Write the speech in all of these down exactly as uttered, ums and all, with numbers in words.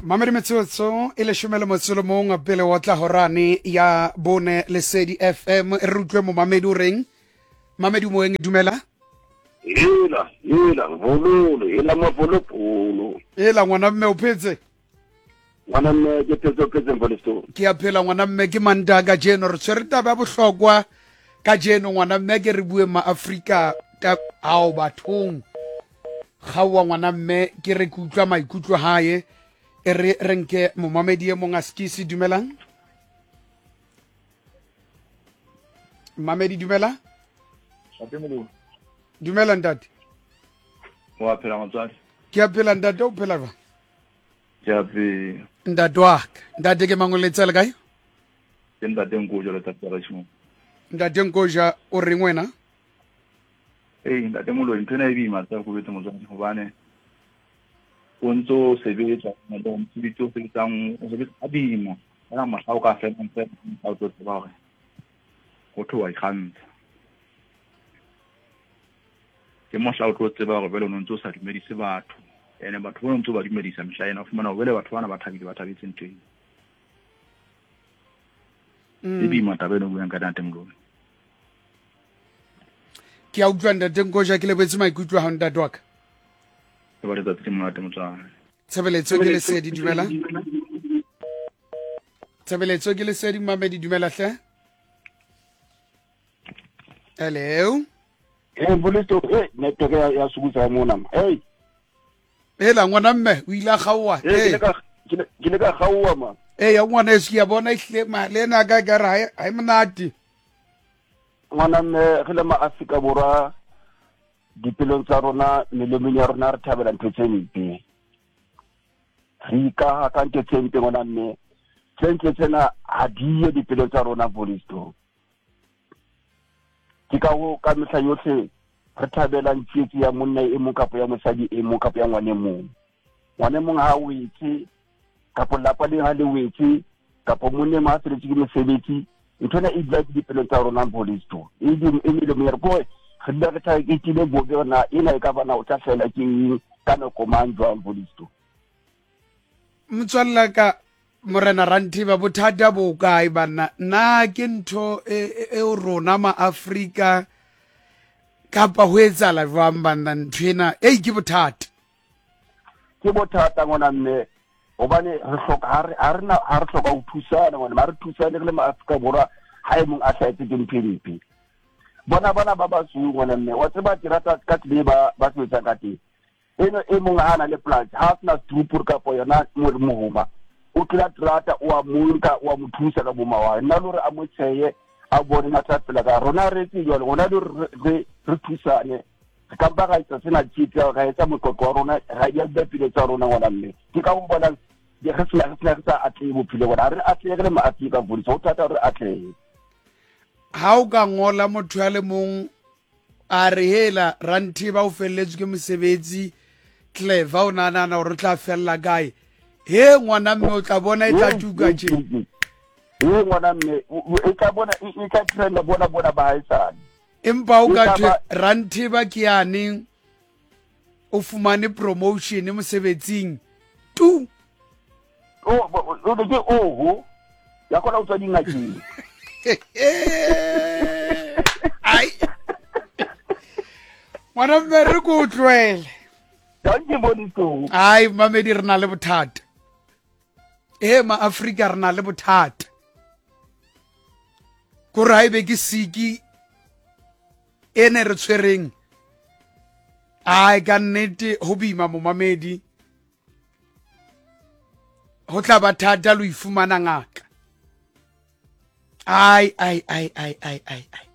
Mamedi metsotso e leshome le motso le mong pele wa tla horane ya bone Lesedi F M. Re utlwe momamedi o reng. Mamedi moeng, dumela. Hela, hela, bololo, hela mapolopolo. Hela ngwana mme o phetse? Ngwana mme ke phetse, o phetse Mpolisto. Ke a phela ngwana mme, ke Mantaha kajeno re tshwere taba ya bohlokwa kajeno ngwana mme, ke re bue ma Afrika ao bathong. Kgaowa ngwana mme, ke re ke utlwa maikutlo hae. E re re nke momamedi e mong a skisi. Dumelang. Mamedi dumela. Dumela ntate. Wa phela motswadi? Ke a phela ntate, o phela jwang? Ke a phela. Ntate wa ka. Ntate ke mang o letsa le kae? Ke ntate Nkoja le tate Rashmo. Ntate Nkoja o reng wena? Ee, ntate Moloi, ntho ena e boima tsa go betse motswadi hobane o ntso sebetsa, mosebetsi o sebetsang, o sebetsa ka boima. Ka mohla o ka felang fela, o tlo tseba hore ho thwe wa ikgantsha. Ke mohla o tlo tseba hore jwale o no ntso sa dumedise batho. Ene batho ba ntso ba dumedisa mehla ena, o fumana hore jwale batho bana ba thabile, ba thabetse ntho ena. E boima taba ena o buang ka ntate Moloi. Ke a utlwa ntate Nkoja, ke lebetse maikutlo a hao ntate wa ka. Ke ba letsatsi le monate motswadi. Tshebeletso ke Lesedi, dumela. Tshebeletso ke Lesedi, mamedi dumela hle. Hello. Eh Mpolisto, eh network ya ya sukutsa mona. Hey. Hela ngwana mme o ile a kgaowa. Eh ke ke le ka kgaowa ma. Eh ya ngwana e se ya bona ihle ma le ena ka ka re ha e monate. Ngwana mme re le ma Afrika Borwa dipelong tsa rona, melomong ya rona re thabela ntho tse mpe. Re ikaha ka ntho tse mpe ngwana mme. Tse ntle tsena ha di ye dipelong tsa rona Mpolisto. Ke ka ho ka mehla yohle re thabelang tsietsi ya monna e mong kapa ya mosadi e mong kapa ya ngwane mong. Ngwane mong ha wetse kapa lapa le ha le wetse kapa monna ma feletse ke mosebetsi, ntho ena e dula dipelong tsa rona Mpolisto. E di e melomong ya re ko re dula re targetile bobe na ena e ka bana o tla fela ke eng ka nako mang jwang Mpolisto. Motswalla ka Morena Ranthiba, bothata bo kae banna? Na ke ntho e rona ma Afrika kapa ho etsahala jwang banna ntho ena? Ei ke bothata. Ke bothata ngwana mme, hobane re hloka ha re ha re na ha re hloka ho thusana ngwana, ha re thusane re le ma Afrika Borwa ha e mong a hlahetse ke ntho e mpe. Bona bana ba basweu ngwana mme, wa tseba ke rata ka tsela e ba ba sebetsang ka teng. Eno e mong ha na le polasi, ha a sena setupuru kapa yona mohoma, o tla trata o a monka o a mo thusa ka boma wa nna le hore a mo tsheye a bone na tla phela ka rona re etse jwalo rona le re re thusane re ka ba ra etsa sena tshitsi ra etsa moqoqo wa rona ra ya dipelo tsa rona ngwana mme. Ke ka ho bonang re sena re sena re sa atlehe bophelo bona, re atlehe re le ma Afrika Borwa ho thata hore atlehe. Ha o ka ngola motho ya le mong a re hela Ranthiba o felletswe ke mosebetsi, Clever o nahana hore o tla fella kae? He ngwana mme o tla bona e tla tuka tje. He ngwana mme e tla bona e tla trenda bona bona ba haesale. Empa o ka thwe Ranthiba ke yane o fumane promotion mosebetsing tu. O o ke oho ya kgona ho tswa dingakeng. Ai. Ngwana mme re ko utlwele. Dankie Mpolisto. Ai mamedi re na le bothata. Eh ma Afrika re na le bothata. Ko re haebe ke siki ene re tshwereng. Ai ka nnete ho boima momamedi. Ho tla ba thata lo ifumana ngaka. Ai ai ai ai ai ai ai.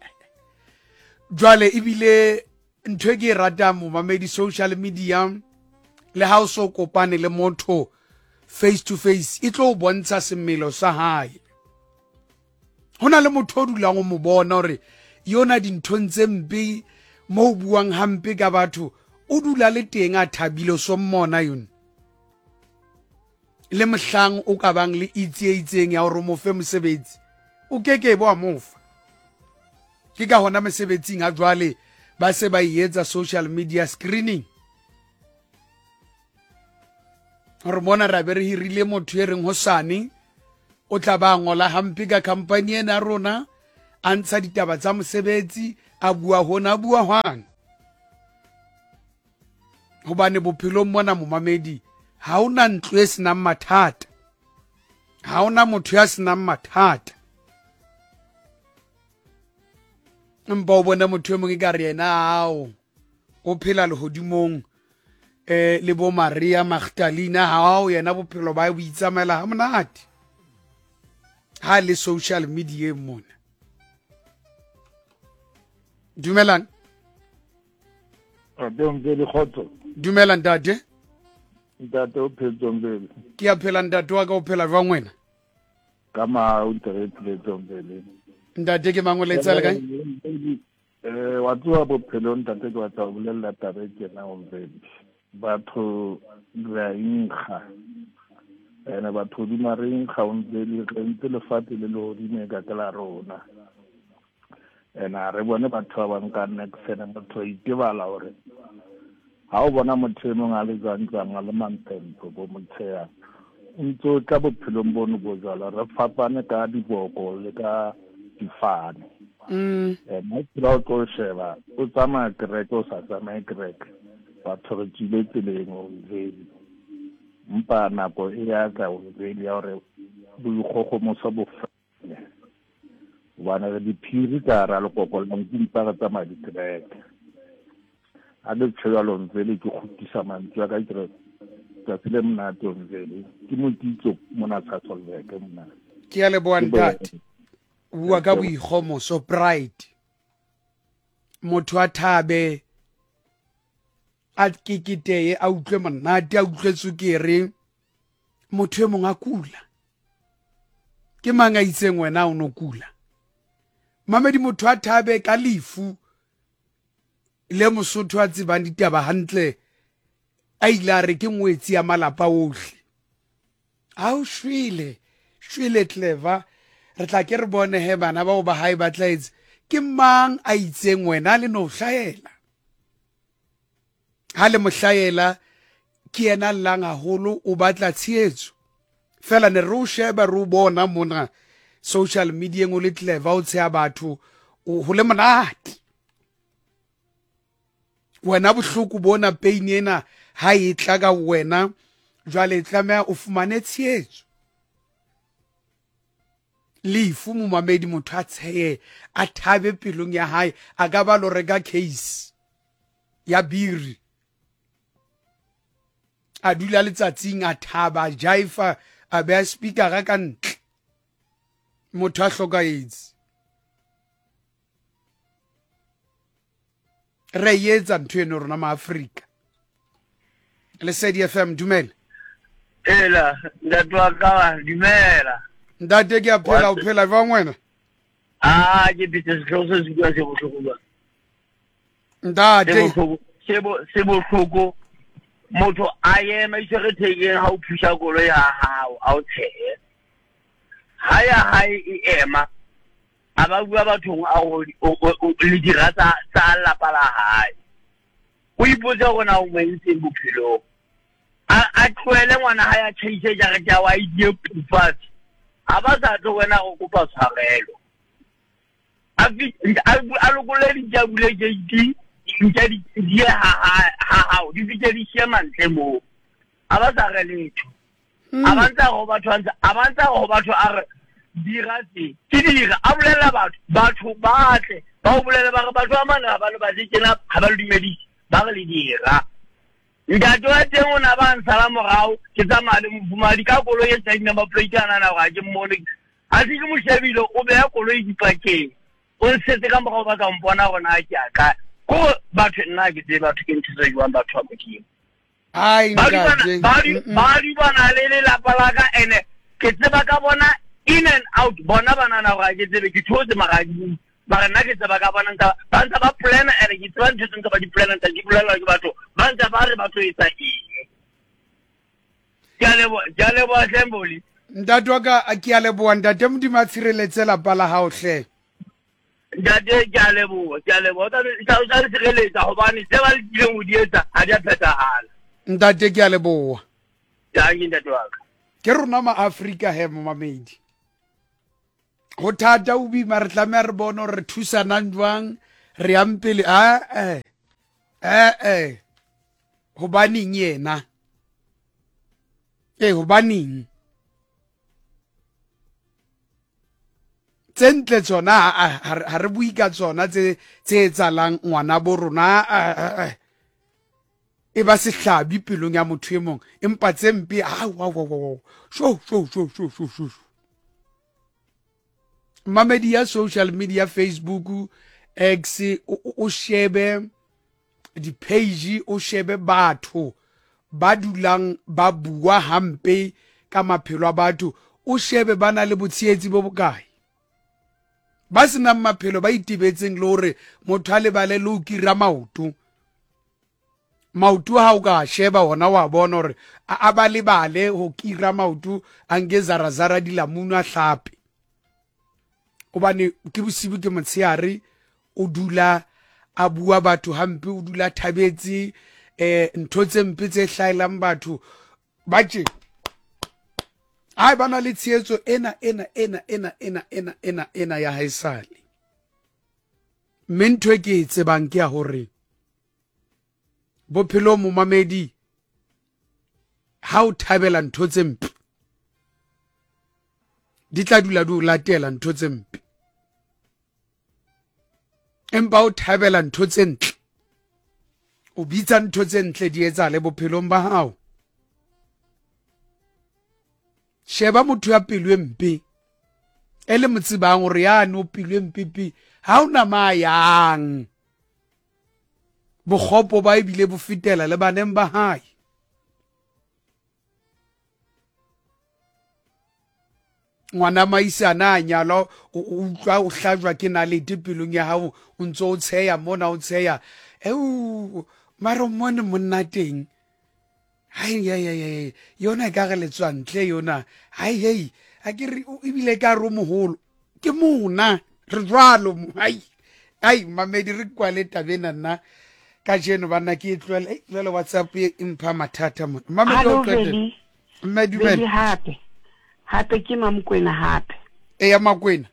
Jwale ebile ntho e ke e ratang momamedi social media le ha o so kopane le motho face to face e tlo o bontsha semelo sa hae. Ho na le motho o dulang o mo bona hore yona dinthong tse mpe mo buang hampe ka batho o dula le teng a thabile so mmona yona. Le mohlang o ka bang le itse e itseng ya hore o mo fe mosebetsi o keke bo a mofa. Ke ka hona mesebetsing ha jwale ba se ba etsa social media screening. Gore mona ra be re hirile motho e reng hosane o tla ba ngola hampe ka company ena ya rona, a ntsha ditaba tsa mosebetsi, a bua hona, a bua hwane. Hobane bophelong mona momamedi, ha hona ntlo e senang mathata, ha hona motho ya senang mathata. Empa o bone motho e mong e ka re yena ao o phela lehodimong, eh le bo Maria Magdalena, hao yena bophelo ba bo itsamaela ha monate ha le social media mona. Dumelang. Dumela ntate. Ntate o phetse Mbele. Ke a phela ntate wa ka, o phela jwang wena? Ka ma o ntate phetse Mbele. Ntate ke mang o letsa le kae? Eh wa tsoa bophelo ntate ke batla ho bolella taba e tjena o Mbele. Batho re a inkga. Ene batho di mareng ga o ntse le re ntse lefatshe le lehodimo ka ke la rona. Ena re bone batho ba bang ka next ene motho a itebala hore ha o bona motho e mong a le jwang jwang a le mampempe bo motsheya o ntse o tla bophelong bono bo jwalo, re fapane ka diboko le ka difane. Mm. Eh mo phela o tlo sheba o tsamaya kereke o sa tsamaye kereke, batho re tswile tseleng o vele. Mpa nako e ya tla o vele ya hore boikgogomoso bo fele. Hobane re diphiri ka hara lekoko la nku, mpa re tsamaya dikereke. Ha ke tjho jwalo Mvele, ke kgutlisa mantswe a ka, ke re tsatsi le monate o Mvele. Ke motitso mona Sasolburg mona. Ke a leboha ntate. O bua ka boikgomoso, pride. Motho a thabe, a keketeye, a utlwe monate, a utlwe tswekere. Motho e mong a kula. Ke mang a itseng wena o no kula? Mamedi, motho a thabe ka lefu le Mosotho a tsebang ditaba hantle, a ile a re ke ngwetsi ya malapa ohle. Ha o shwele, shwele clever, re tla ke re bone he bana bao ba hae ba tla etse. Ke mang a itseng wena le no hlahela? Ha le mo hlahela, ke yena llang haholo, o batla tshehetso. Fela ne re o sheba, re o bona mona social media o le clever, o tsheha batho, o ho le monate. Wena bohloko bona pain ena ha e tla ka wena, jwale tlameha o fumane tshehetso. Lefu momamedi, motho a tshehe, a thabe pelong ya hae, a ka ba lo reka case ya biri, a dula letsatsing, a thaba, a jaifa, a beha speaker ka ntle. Motho a hlokahetse. Re etsa ntho eno rona ma Afrika. Lesedi F M, dumela. Ela, ntate wa ka, dumela. Ntate ke a phela, o phela jwang wena? Ah, ke phetse sehlooho se se bua se bohloko ba. Ntate. Se bo se bohloko. Motho a ema itshwere thekeng ha o phusha koloi ya hao, a o tshehe. Ha ya hae e ema, a ba bua bathong a go le dira tsa tsa lapa la hae. O ipotsa hore na o mo entseng bophelong. A a tlohele ngwana hae a tjhaise jarete ya wa die pufatse. Ha ba sa tlo wena go kopa tshwarelo. A a lokolle dintja bule gate, dintja di di ha ha hao, di fihle di siya mantle moo. A ba sa re letho. A ba ntsa go batho a ba ntsa go batho a re dira tse ke dira, a bolella batho, batho ba tle ba o bolelle ba re batho ba mane ha ba le batle tjena, ha ba le dumedise, ba re le dira. Ntate wa teng o na ba nsala morao, ke tsamaya le mofumahadi ka koloi e sa di-number plate a nahana hore ha ke mmone. A se ke mo shebile, o beha koloi dipakeng, o nsetse ka morao ba ka mpona hore na ke a kae. Ko batho nna ha ke tsebe batho ke ntho tse jwang batho ba Modimo. Ai, ntate. Ba dubana le lelapa la ka, ene ke tseba ka bona in and out. Bona ba nahana hore ha ke tsebe, ke theotse mara ha ke bue. Mara nna ke tseba ka bona ntse ba ntse ba plan-a, ene ke tseba ntho tse ntse ba di plan-a, ntse di bolellwa ke batho ba ntse ba re ba tlo etsa eng. Ke a leboha, ke a leboha hle Mboli. Ntate wa ka, ke a leboha ntate. Modimo a tshireletse lapa la hao hle. Ntate, ke a leboha, ke a leboha. O tla o tla le tshireletsa hobane tse ba lekileng ho di etsa ha di a phethahala. Ntate, ke a leboha. Dankie ntate wa ka. Ke rona ma-Afrika he momamedi. Ho thata o boima, re tlameha re bone hore re thusanang jwang, re yang pele. Ae, ae, hobaneng yena? Ee, hobaneng? Tse ntle tsona ha re bue ka tsona tse tse etsahalang ngwana bo rona, e ba sehlabi pelong ya motho e mong, empa tse mpe ao, sho sho sho sho sho sho. Mamedi ya social media, Facebook, X, o shebe di-page, o shebe batho ba dulang ba bua hampe ka maphelo a batho, o shebe ba na le botshehetsi bo bokae, ba senang maphelo, ba itebetseng le hore motho a lebale le ho kira maoto. Maoto ha o ka sheba ona wa bona hore a ba lebale ho kira maoto, a nke zarazara dilamunu a hlape, hobane ke bosibu ke motshehare, o dula a bua batho hampe, o dula thabetse eh ntho tse mpe tse hlaelang batho ba tje. Ai, ba na le tshehetso ena ena ena ena ena ena ena ena ya haesale. Mme ntho e ke e tsebang ke ya hore bophelo momamedi, ha o thabela ntho tse mpe, di tla dula di o latela ntho tse mpe, empa o thabela ntho tse ntle, o bitsa ntho tse ntle di etsahale bophelong ba hao. Sheba motho ya pelo e mpe, e le mo tsebang hore yane o pelo e mpe pe, ha ona ma yang. Bokgopo ba ebile bo fetela le baneng ba hae. Ngwana maisana a nyalwa, o utlwa o hlajwa ke nalete pelong ya hao, o ntso o tsheya mona, o tsheya. Eo, mara mmone monna teng. Hai, hai, hai, hai, yona e ka re letswa ntle yona. Hai, hei, ha ke re ebile ka re o moholo. Ke mona, re jwalo. Hai, hai, mamedi re kwale taba ena nna. Kajeno banna ke e tlohele. Ei, jwale WhatsApp e mpha mathata mona. Mamedi o qetelle. Mme dumela. Hape. Hape ke Mamokwena hape. E ya Makwena.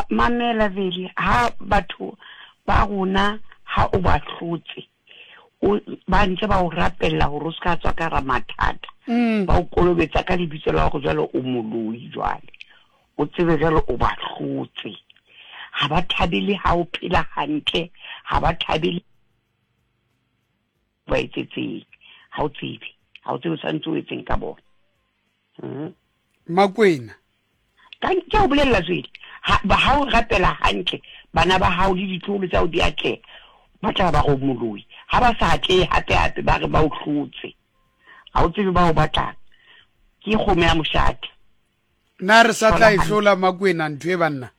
Mamela Veli, ha batho ba rona ha o ba hlotse, o ba ntse ba o rapella hore o ska tswa ka ra mathata. Ba o kolobetsa ka lebitso la hore jwale o moloi jwale. O tsebe jwale o ba hlotse. Ha ba thabele ha o phela hantle, ha ba thabele ba etsetseng. Ha o tsebe, ha o tsebe tshwantse o etseng ka bona. Mm. Makwena. Ka ke o bolella tswele, ha ba ha o rapela hantle, bana ba hao le ditloholo tsa o di atleha, ba tla ba go moloi. Ha ba sa atlehe hape hape ba re ba o hlotse. Ha o tsebe ba o batlang. Ke kgomo ya moshate. Na re sa tla e hlola Makwena ntho e banna?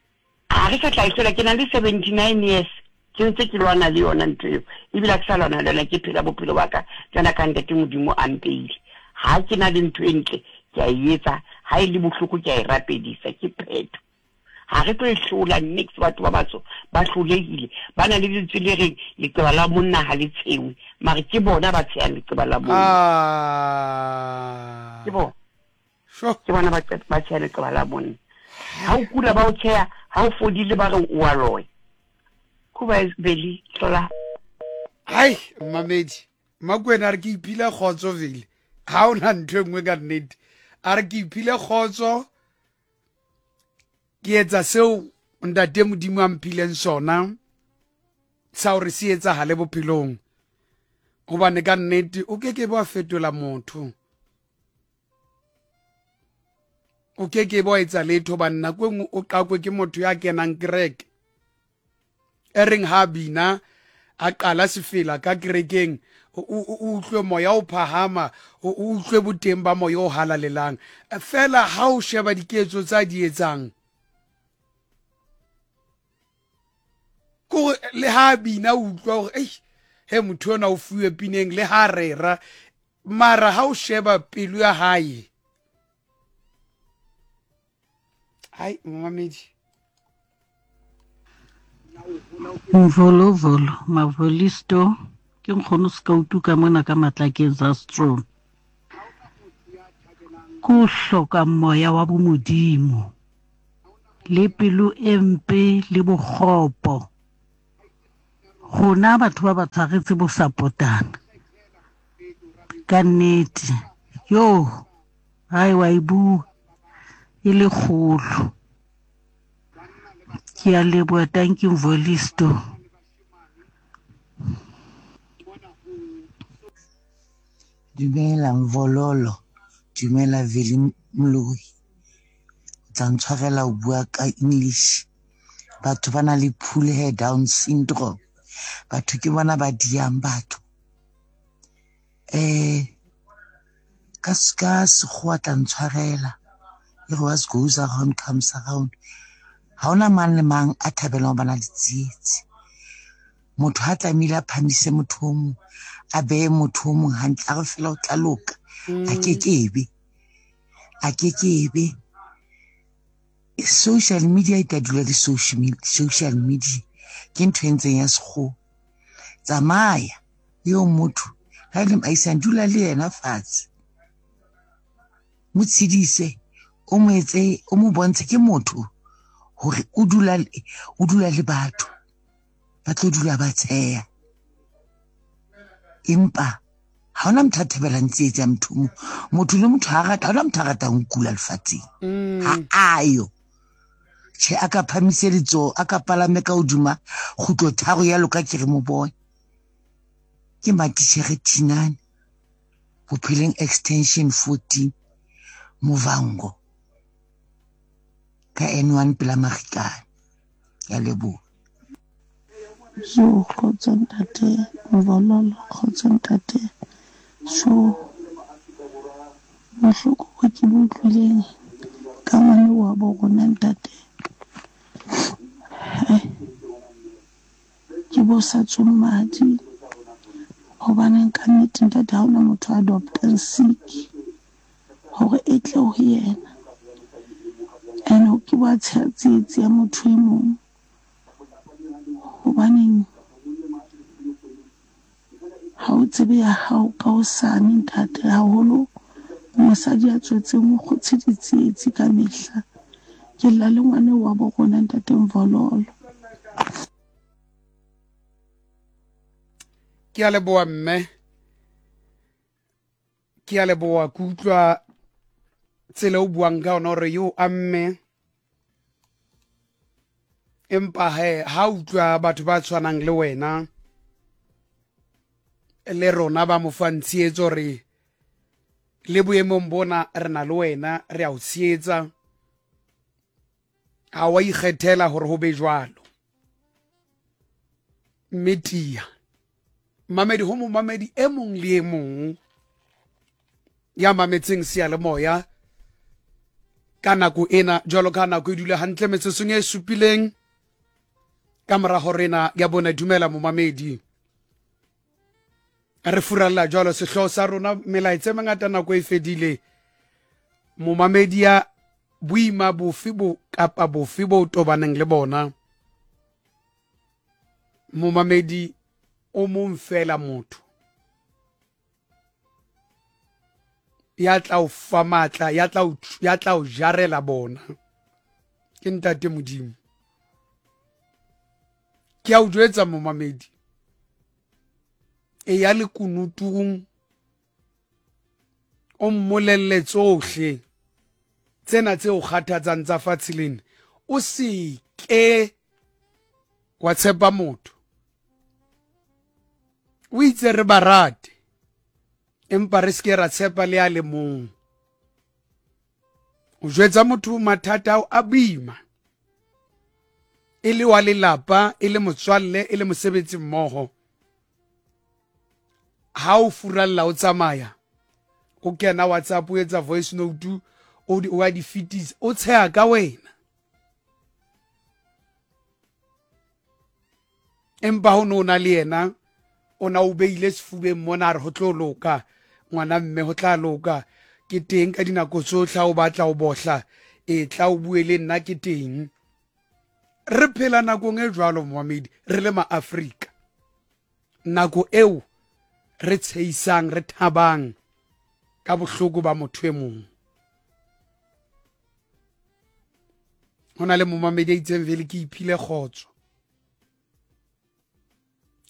Ha re sa tla e hlola, ke na le seventy-nine years. Ke ntse ke lwana le yona ntho eo. Ebile ha ke sa lwana le yona, ke phela bophelo ba ka jwana ka ntate Modimo a mpeile. Ha ke na le ntho e ntle, ke a e etsa, ha e le bohloko ke a e rapedisa, ke phetho. Ha re tlo e hlola nix, batho ba batsho ba hlolehile, ba na le lentswe le reng leqeba la monna ha le tshewe, mare ke bona ba tshehang leqeba la monna. Ah. Ke bona. Sure. Ke bona ba ba tsheha leqeba la monna. Ha o kula ba o tsheha, ha o fodile ba re o a loya. Kuba Veli hlola. Hai, mamedi. Makwena a re ke iphile kgotso Veli. Ha ona ntho e nngwe ka nnete. A re ke iphile kgotso, ke etsa seo ntate Modimo a mphileng sona sa hore se etsahale bophelong. Hobane ka nnete o ke ke ba fetola motho. O ke ke ba etsa letho hobane nako e nngwe o qakwe ke motho ya kenang kereke. E reng ha bina a qala sefela ka kerekeng, o utlwe moya o phahama, o utlwe boteng ba moya o halalelang. Fela ha o sheba diketso tsa di etsang, kore le ha bina o utlwa hore ei, he motho ona o fuwe pineng le ha rera, mara ha o sheba pelo ya hae. Hai, mamedi. Mvolo volo, mavolisto, ke nkgono Skautu ka mona ka Matlakeng za Strong. Ke ho hloka moya wa bomodimo, le pelo e mpe le bokgopo. Rona batho ba batsho ha re tsebe ho sapotana. Ka nnete. Yo, hai wa e bua e le kgolo. Ke a leboha, thank you Mvolisto. Dumela Mvololo, dumela Veli Moloi. O tla ntshwarela ho bua ka English. Batho ba na le pull hair down syndrome. Batho ke bona ba diang batho. Eh ka ka sekgowa tla ntshwarela. E re what goes around comes around. Ha hona mang le mang a thabelang ho bana le tsietsi. Motho ha tlamehile a phamise motho o mong, a behe motho o mong hantle, a re fela o tla loka. A kekebe. A kekebe. Social media e tla dula le social media. Ke ntho e ntseng ya sekgowa. Tsamaya eo motho ha e le moahisane, dula le yena fatshe. Mo tshedise, o mo etse, o mo bontshe ke motho hore o dula o dula le batho. Ba tlo dula ba tsheha. Empa ha hona motho a thabelang tsietsi ya motho o mong. Motho le motho ha rata, ha hona motho a ratang ho kula lefatsheng. Ha ayo. Tjhe, a ka phamise letsoho, a ka palame ka hodima kgutlo tharo ya loka ke re mo bone. Ke matitjhere Thinane, Bophelong Extension fourteen, Movango, ka N one pela Marikana. Ke a leboha. Jo, kgotso ntate Mvololo, kgotso ntate. Jo, bohloko bo ke bo utlwileng ka ngwana wa bo rona ntate. Ke bo sa tswe madi. Hobaneng ka nnete ntate ha hona motho a adoptang sick hore e tle ho yena. Ene ke wa tshehetsi ya motho e mong. Hobaneng ha o tsebe ya hao ka hosane ntate, haholo mosadi ya tswetseng o kgotshe ditsietsi ka mehla. Ke lla le ngwana wa bo rona ntate Mvololo. Ke a leboha mme. Ke a leboha, ke utlwa tsela o buang ka yona hore yo a mme. Empa he ha utlwa batho ba tshwanang le wena le rona ba mo fang tshehetso hore le boemong bona re na le wena, re a o tshehetsa. Ha wa ikgethela hore ho be jwalo. Mme tiya. Mamedi ho momamedi e mong le e mong ya mametseng seyalemoya ka nako ena, jwalo ka nako e dula hantle metsotsong e supileng ka mora hore ena ya bona. Dumela momamedi. Re furalla jwalo sehlooho sa rona, melaetsa e mengata nako e fedile. Momamedi ya boima bofe bo kapa bofe bo tobaneng le bona, momamedi o mong fela motho ya tla o fa matla, ya tla o ya tla o jarela bona ke ntate Modimo. Ke a o jwetsa momamedi, e ya lekunutung o mmolelle tsohle tsena tse o kgathatsang tsa fatshe lena. O se ke wa tshepa motho. O itse re ba rate, empa re se ke ra tshepa le a le mong. O jwetsa motho mathata ao a boima, e le wa lelapa, e le motswalle, e le mosebetsi mmoho. Ha o furalla o tsamaya, o kena WhatsApp, o etsa voice note, o di o di fetisa, o tsheha ka wena. Empa ho no na le yena, o na o beile sefubeng mona, a re ho tlo loka ngwana mme, ho tla loka, ke teng ka dinako tsohle ha o batla o bohla, e tla o bue le nna ke teng. Re phela nakong e jwalo momamedi, re le ma-Afrika. Nako eo re tshehisang, re thabang, Ka bohloko ba motho e mong. Ho na le momamedi a itseng vele ke iphile kgotso.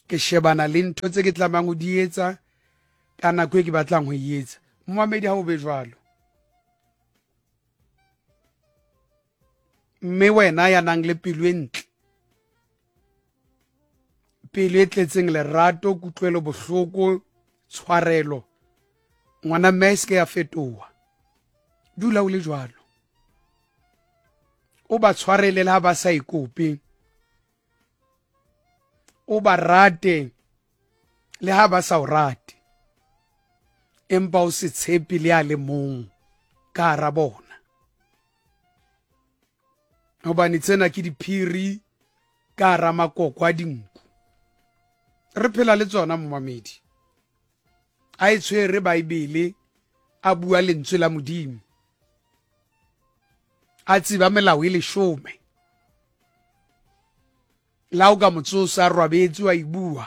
Ke shebana le ntho tse ke tlamehang ho di etsa ka nako e ke batlang ho e etsa. Momamedi ha o be jwalo. Mme wena ya nang le pelo e ntle, pelo e tletseng lerato, kutlwelo bohloko, tshwarelo, ngwana mme a se ke ya fetoha. Dula o le jwalo. O ba tshwarele le ha ba sa ikope. O ba rate le ha ba sa o rate. Empa o se tshepe le a le mong ka hara bona. Hobane tsena ke diphiri ka hara makoko a dinku. Re phela le tsona momamedi. A e tshwere Baebele, a bua lentswe la Modimo. A tseba melao e leshome. La o ka motsosa robetse wa e bua.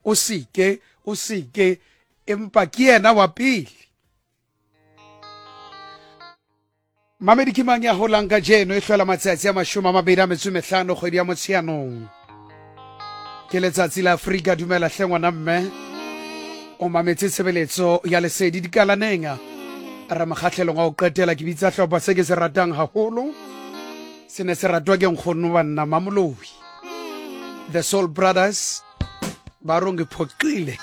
O seke, o seke, empa ke yena wa pele. Mamedi ke mang ya holang kajeno e hlola matsatsi a mashome a mabedi a metso e mehlano kgwedi ya Motsheanong. Ke letsatsi la Afrika. Dumela hle ngwana mme. O mametse tshebeletso ya Lesedi dikalaneng. Re mokgahlelong wa ho qetela. Ke bitsa hlopha se ke se ratang haholo. Se ne se ratwa ke nkgono banna Mamoloi. The Soul Brothers ba rong phoqile.